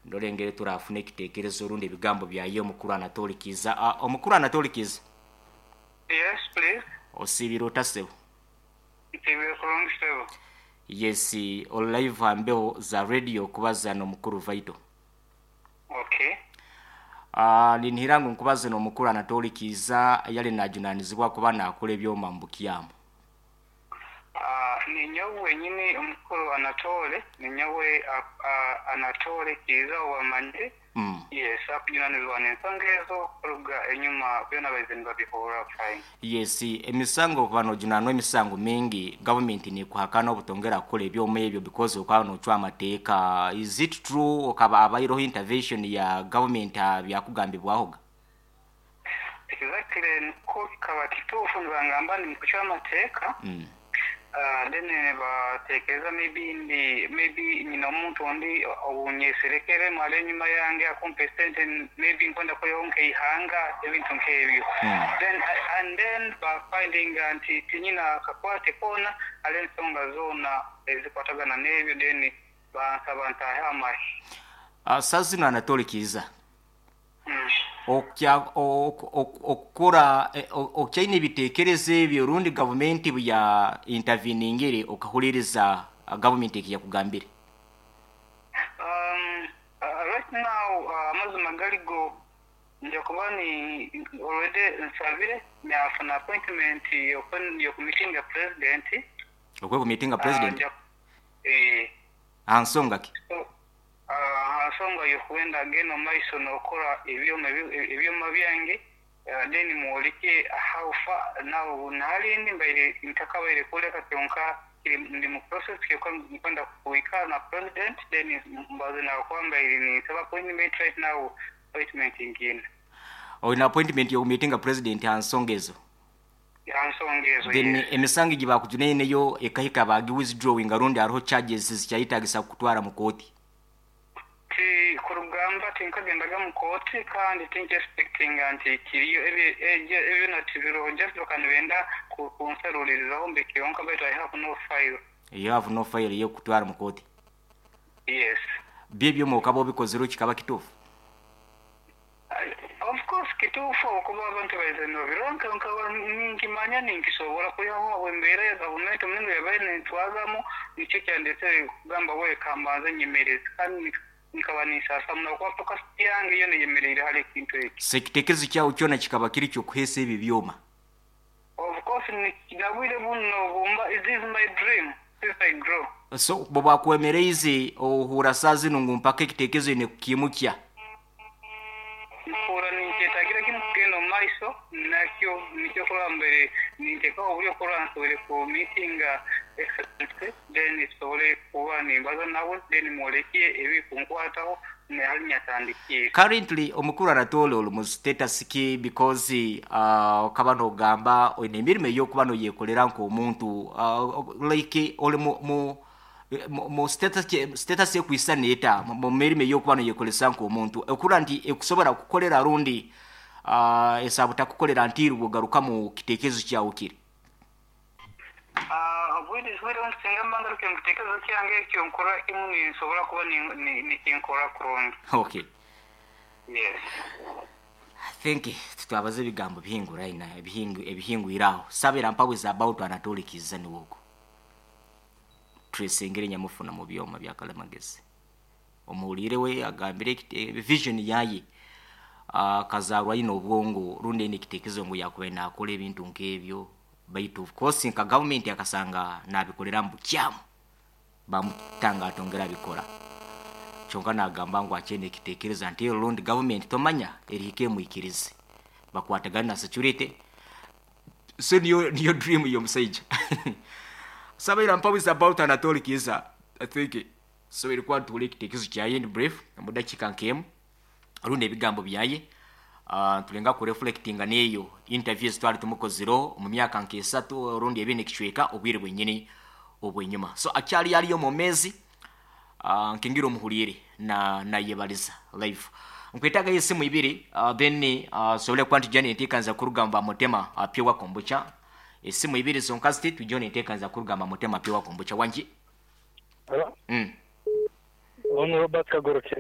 Ndore engeri turafuna ekitekerezo rundi ebigambo byaye omukuru Anatoli Kiiza. Omukuru Anatoli Kiiza. Yes please. Osiibire ota sebo? Nsiibire kurungi sebo. Yes, ori live aha mbeho za radio kubaza n'omukuru Vital. Okay. Ninihira ngu nkubaze n'omukuru Anatoli Kiiza eyali najunanizibwa kuba nakora ebyoma mubukyamu. Ninyowe wenyini omukuru Anatole, ninyowe Anatole Kiiza owamanyire. Yes, akujunanizibwa n'ensonga ezo kuruga enyuma byona baize nibabihurra fine. Yes, emisango okuba nojunanwa emisango mingi, gavumenti nekuhakana obutongera kukora ebyoma ebyo because okaba nocwa amateeka. Is it true okaba abaireho intervention ya gavumenti aha byakugambibwahoga? Exactly nikwo kikaba kituufu nibangamba ndi mukucwa amateeka then nibatekereza maybe ndi maybe nyine omuntu ondi owunyeserekeremu ari enyuma yange akumpa esente maybe nkwenda kwihaho nkeihanga ebintu nkebyo then and then bafindinga nti tinyine akakwate koona hariho ensonga zoona ezikwatagana nebyo then bansaba ntaahe amahe. Saaha zinu Anatole Kiiza Okukora okyaine ebitekerezo ebyo rundi gavumenti buya interveningire okahuliriza gavumenti ekiyakugambire? Right now amazima gari go nja kuba ni already nsabire nafuna appointment yoku meetinga president. Okwe meetinga president? Aha nsonga ki? Aha nsonga y'okwenda genda omu maiso n'okora ebyoma ebyoma byange then mworeke how far now nahari ndi mbaire ntakabaire kworeka kyonka ndi mu process kyonka nkwenda kuhika na president then mbaze nawe kuba mbaire ninsaba appointment right now appointment ngiine. Oine appointment y'okumiitinga president aha nsonga ezo? Aha nsonga ezo, Then yes. emisango egi bakujunaine yo ekahika bagi withdrawinga rundi hariho charges ezikyayetagisa kukutwara mu kooti? Ti kurugamba tinkagendaga mu kooti kandi tinki expectinga nti kiriyo ebyo byona tibiroho just bakaba nibenda kunsaruririzaho mbe kyonka baitu I have no file. You have no file eyokukutwara mu kooti? Yes. Byo ebyoma okaba obikozire kikaba kituufu? Of course kituufu ahabw'okuba abantu baizire nibabirora nkaba ninkimanya ninkisobola kwihaho ahabw'embeera ya gavumenti omuringo yabaire nentwazamu nikyo kyandetsire kugamba we kambanze nyemereze kandi nkaba ninsaasa muno ahabw'okuba focus yange yoona eyemereire hari ekintu eki. So ekitekerezo kyawe kyona kikaba kiri ky'okuheesa ebi byoma? Of course nabwire bunu nobumba this is my dream since I grow. So bwobakwemereize ohuura saaha zinu ngu mpaka ekitekerezo oine kukiimukya? Mpuura ninkyetagira kimu kugenda omu maiso nakyo, nikyo kurora mbaire nintekaho oburyo kurora nsobore ku meetinga Excellency then tusobole kuba nimbaza nawe then mwolekye ebirikunkwataho nahali nyatandikiire. Currently omukuru Anatole ori mu status ki because okaba nogamba oine emirimo eyokuba noyekorera nkomuntu like ori mu mu Mu status ekwisana eta mu mirimo eyokuba noyekoresa nk'omuntu okurora nti ekusobora kukukorera rundi esobola butakukorera ntiirwe ogaruka mu kitekerezo kyawe kiri? Obwire obu singa mba ngarukire mu kitekerezo kyange ekyo nkorra kimu ninsobora kuba nikinkora kurungi. Okay. Yes. I think titwabaza ebigambo bihinguraine ebihingwire aho. Sabira mpawe is about Anatoli Kizza niwe ogu. Twesengere nyamufuna mu byoma bya kalimagezi. Omuhuliire we agambire vision yaye akazarwa aine obwongo rundi aine ekitekerezo ngu yakubaire nakora ebintu nk'ebyo baitu of course nka government akasanga nabikorera mu bukyamu bamutanga atongera abikora. Kyonka nagamba ngu akyaine ekitekerezo until rundi government tomanya erihika emwikirize bakwatagane na security. So niyo niyo dream y'omusaija. Sabaira mpaho is about Anatoli Kiiza. I think soboire kuba nituhurira ekitekerezo kyaye in brief omu dakiika nk'emu rundi ebigambo byaye. Nitulenga ku reflectinga n'eyo interview ezi twali tumukozireho omu myaka nk'esatu rundi ebiri n'ekicweka obwire bwenyini obw'enyima. So akyali ariyo omwomeezi. Nkingira omuhuriire na nayebaliza live. Nkwetagayo esimu ibiri then nsobole kuba nitwija nenteekaniza kuruga omu ba Mutema Pure Kombucha. Esimu ibiri zonka ziti twijeho nenteekaniza kuruga omu ba Mutema Pure Kombucha. Wangi? Hello. Onu Robert Kagorokye.